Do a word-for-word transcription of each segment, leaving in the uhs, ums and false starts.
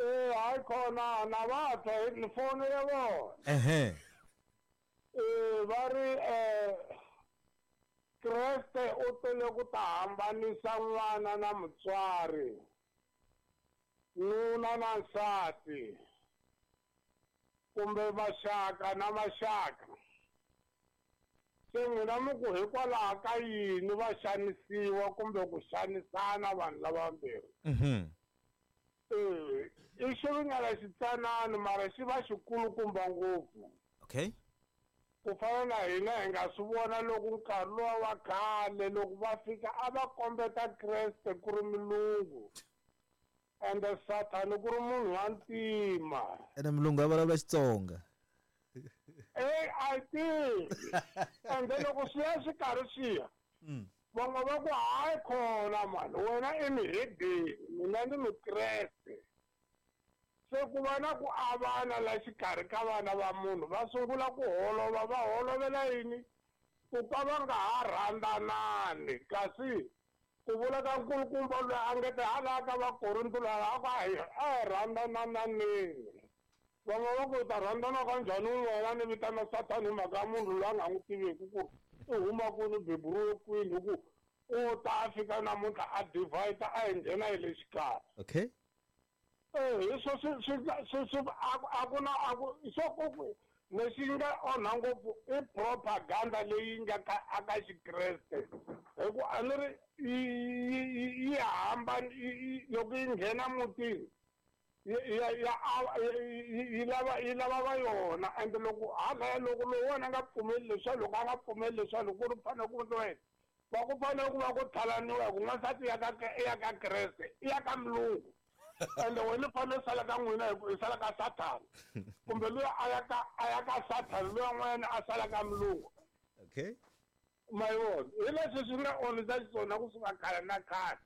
Eh hayi khona na va twa ni fonele vona. Ehe. Eh va ri eh Kreste u tele ku ta hambanisa n'wana na mutswari, nuna na nsati, kumbe maxaka na maxaka. Se n'wina mi ku hikwalaho ka yini va xanisiwa kumbe ku xanisana vanhu lavambirhi? Mhm. Eh, i xiringana xitsanana mara xi va xikulukumba ngopfu. Okay. Ku fana na hina hi nga swi vona loko nkarhi luwa wa khale loko va fika a va kombeta Kreste ku ri mulungu ende Sathani ku ri munhu wa ntima. Ene mulungu a vulavula Xitsonga. Eh a tivi. Ende loko swi ya swi karhi swi ya, van'we va ku hayi khona mani wena i muhedeni mina ni mukreste. Se ku va na ku avana la xikarhi ka vana va munhu va sungula ku holova va holovela yini ku ka va nga ha rhandzanani kasi ku vula ka nkulukumba loyi a nge te hala ka Vakorinto laha a ku a hi a hi rhandzananeni. Van'we va ku ta rhandzana ka njhani wena ni vitana Sathani hi mhaka ya munhu loyi a nga n'wi tiveki ku i huma kwini beburiwe kwini hi ku u ta a fika namuntlha a divide a hi nghena hi le xikarhi. Okay. Eh hi swo swi swi swi swi a ku na a ku swo ku lexi nga onha ngopfu i propaganda leyi nga ka aka Xikreste hi ku a ni ri yi yi hambana loko yi nghena mutini ya ya yi lava yi lava va yona ende loko hala loko loyi wena a nga pfumeli leswiya loko a nga pfumeli leswiya loko ku ri fanele ku endliwa yini va ku fanele ku va ku thalaniwa hi ku n'wansati ya ka ya ka Kreste i ya ka mulungu ende wena u fanele u sala ka n'wina hi ku i sala ka Sathani kumbe luya a ya ka a ya ka Sathani luya n'wanyana a sala ka mulungu. Okay. Ma yi vona hi leswi swi nga onhisa xiswona kusuka khale na khale.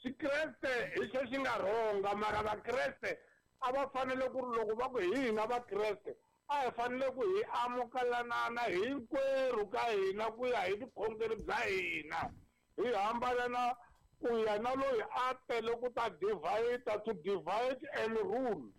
Xikreste hi xo xi nga rhonga mara Vakreste a va fanele ku ri loko va ku hi hina Vakreste a hi fanele ku hi amukelanana hinkwerhu ka hina ku ya hi vukhongeri bya hina hi hambana na ku ya na loyi a tele ku ta divide to divide and rule.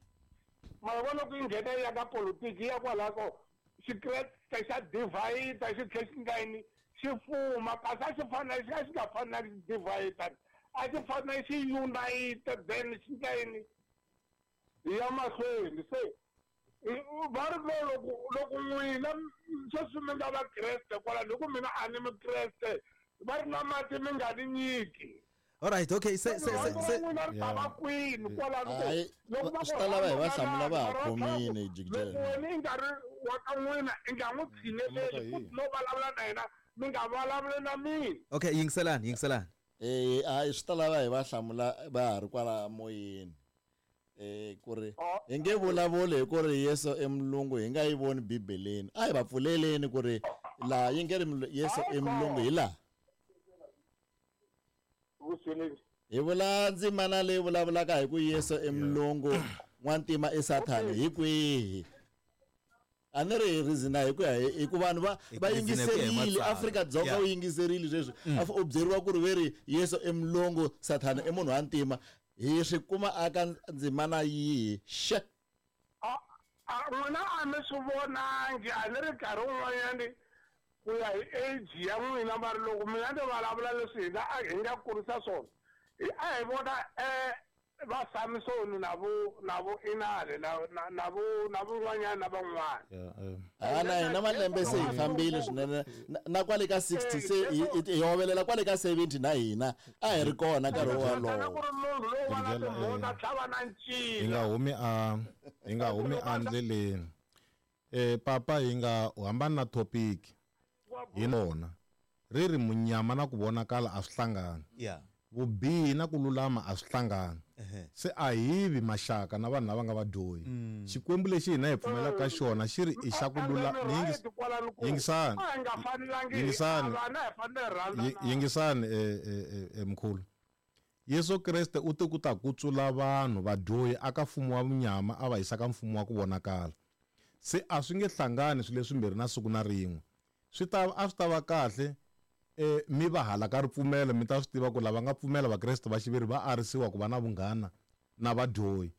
Mara vona ku yi nghena ya ka politiki ya kwalaho ko Xikreste xa divide xi tlhe xi nga yini xi fuma kasi a xi fanele xi a xi nga fanelanga xi divide a xi fanele xi unite then xi nga yini hi ya mahlweni. Se va ri lo loko loko n'wina sweswi mi nga Vakreste kwalano hi ku mina a ni Mukreste va ri na mati mi nga ni nyiki. All right, okay. Se se se se n'wina ri ta va kwini kwalano Hayi, loko va swi ta lava hi va hlamula va ha khomile jikijela. Loko wena i nga ri wa ka n'wina i nga n'wi tshineleli futhi no vulavula na yena mi nga vulavuli na mina. Okay, yingiselani, yingiselani. Eh hayi swi ta lava hi va hlamula va ha ri kwala moyeni. Eh ku ri hi nge vulavuli hi ku ri Yesu i mulungu hi nga yi voni Bibeleni. A hi va pfuleleni ku ri laha yi nge ri Yesu i mulungu hi laha. Hi vula ndzimana leyi vulavulaka hi ku Yesu i mulungu n'wantima i Sathani hi kwihi? A ni ri hi reason hi ku ya hi ku vanhu va va yingiserile Afrika-Dzonga u yingiserile sweswi u byeriwa ku ri ve ri Yesu i mulungu Sathani i munhu wa ntima hi swi kuma aka ndzimana yihi xe? A n'wina a mi swi vonangi a ni ri nkarhi wun'wanyani ku ya hi age ya n'wina mara loko mina ni vulavula leswi hina a hi nga kurisa swona a hi vona eh va Samsoni na vo na vo Inale na na na vo na van'wanyana na van'wana. A na hina malembe se hi fambile swinene na kwale ka sixty se hi hovelela kwale ka seventy na hina a hi ri kona nkarhi wolowo. Ku ri munhu lowu va na timhondzo tlhava na ncila. Hi nga humi a hi nga humi endleleni. Eh papa hi nga hambana na topic. Hi lona ri ri munyama na ku vonakala a swi hlangani. Yeah. Vubihi na ku lulama a swi hlangani. Se a hi vi maxaka na vanhu lava nga vadyohi. Xikwembu lexi hina hi pfumelaka ka xona xi ri i xa ku lulama. Yingisani. Yingisani. Yingisani eh mkhulu. Yesu Kreste u te ku ta kutsula vanhu vadyohi aka mfumo wa munyama a va yisa ka mfumo wa ku vonakala. Se a swi nge hlangani swilo leswimbirhi na siku na rin'we. Swi ta a swi ta va kahle eh mi va hala ka ripfumelo mi ta swi tiva ku lava nga pfumela Vakreste va xiviri va arisiwa ku va na vunghana na vadyohi.